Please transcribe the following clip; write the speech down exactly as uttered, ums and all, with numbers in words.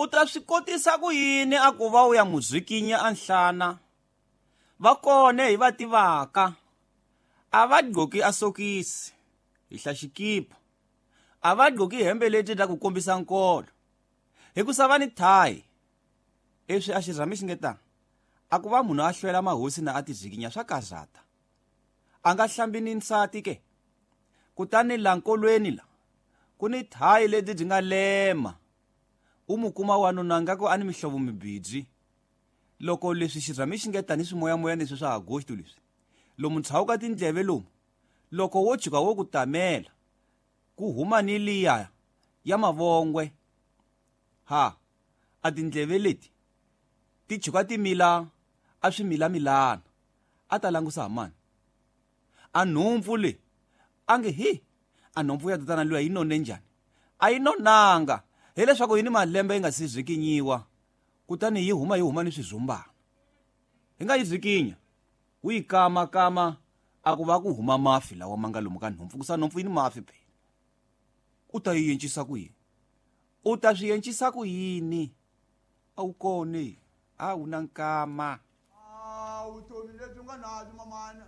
U ta swi kotisa ku yini a ku va u ya mu zikinya a nhlana? Va kone hi va tivaka. A va gqoki a sokisi, hihla xikipa. A va gqoki hembe leti ta ku kombisa nkolo. Hikusa va ni thayi. Leswi a xirhami xi nge ta, a ku va munhu a hlwela mahosi na a ti zikinya swa karhata. A nga hlambi ni nsati ke. Kutani la nkolweni la, ku ni thayi leti byi nga lema. U mu kuma wanuna nga ku a ni mihlovo mibirhi. Loko leswi xirhami xi nge tani swimoyamoya leswi swa Agosto leswi, lomu tshawuka tindleve lomu, loko wo tshuka wo ku tamela, ku huma ni liya ya mavongwe. Ha, a tindleve leti ti tshuka ti mila a swi milamilana. A ta langusa ha mani? A nhompfu le, a nge hi, a nhompfu ya tatana luya yi none njhani? A yi nonanga, hileswaku yi ni malembe yi nga si zikinyiwa, kutani yi huma yi huma ni swizumbana. Hi nga yi zikinya, wu yi kama kama a ku va ku huma mafi lawa ma nga lomu ka nhompfu, kusa nhompfu yi ni mafi phela. U ta yi encisa ku yini? U ta swi encisa ku yini? A wu kone, a wu na nkama. A vutomi lebyi nga na byo mamana.